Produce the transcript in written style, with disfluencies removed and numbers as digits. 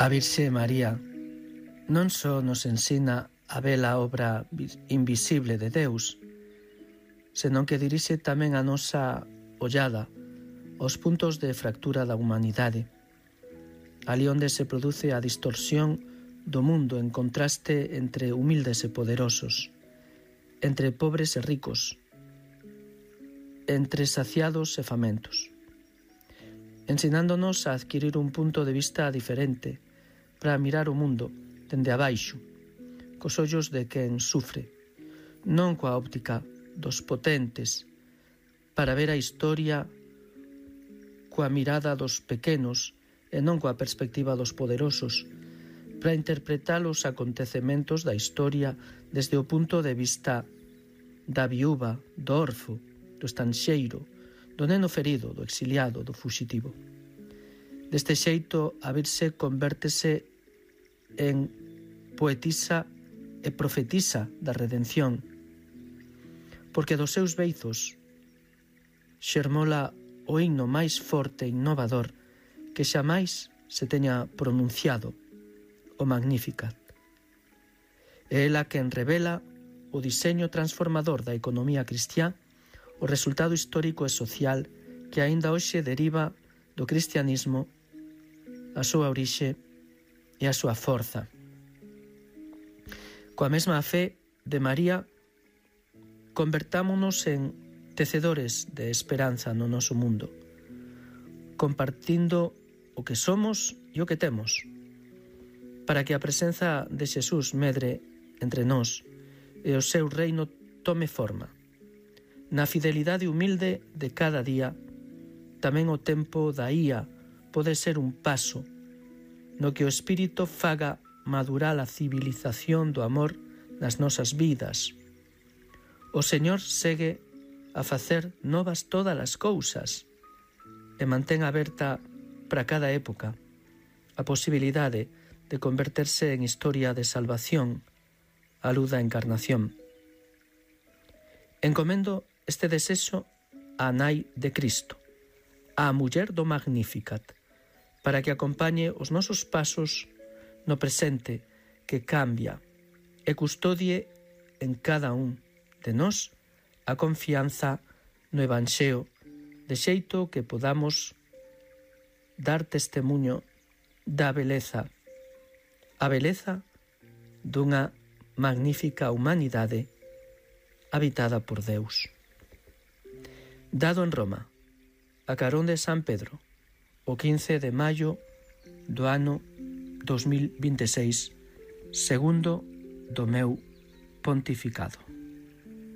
A Virxe María non só nos ensina a bela obra invisible de Deus, senón que dirixe tamén a nosa ollada aos puntos de fractura da humanidade, ali onde se produce a distorsión do mundo en contraste entre humildes e poderosos, entre pobres e ricos, entre saciados e famentos, ensinándonos a adquirir un punto de vista diferente para mirar o mundo dende abaixo, cos ollos de quen sufre, non coa óptica dos potentes, para ver a historia coa mirada dos pequenos e non coa perspectiva dos poderosos, para interpretar os acontecementos da historia desde o punto de vista da viúva, do orfo, do estanxeiro, do neno ferido, do exiliado, do fuxitivo. Deste xeito, a Virxe convértese en poetisa e profetisa da redención, porque dos seus beizos xermola o himno máis forte e innovador que xamais se teña pronunciado, o Magnificat. É ela quen revela o diseño transformador da economía cristiá, o resultado histórico e social que aínda hoxe deriva do cristianismo, a súa orixe e a súa forza. Coa mesma fe de María, convertámonos en tecedores de esperanza no noso mundo, compartindo o que somos e o que temos, para que a presenza de Xesús medre entre nós e o seu reino tome forma. Na fidelidade humilde de cada día, tamén o tempo da ía pode ser un paso no que o Espírito faga madurar a civilización do amor nas nosas vidas. O Señor segue a facer novas todas as cousas e mantén aberta para cada época a posibilidade de converterse en historia de salvación á luz da encarnación. Encomendo este desexo á Nai de Cristo, á muller do Magnificat, para que acompañe os nosos pasos no presente que cambia e custodie en cada un de nós a confianza no Evanxeo, de xeito que podamos dar testemuño da beleza, a beleza dunha magnífica humanidade habitada por Deus. Dado en Roma, a carón de San Pedro, o 15 de maio do ano 2026, segundo do meu pontificado.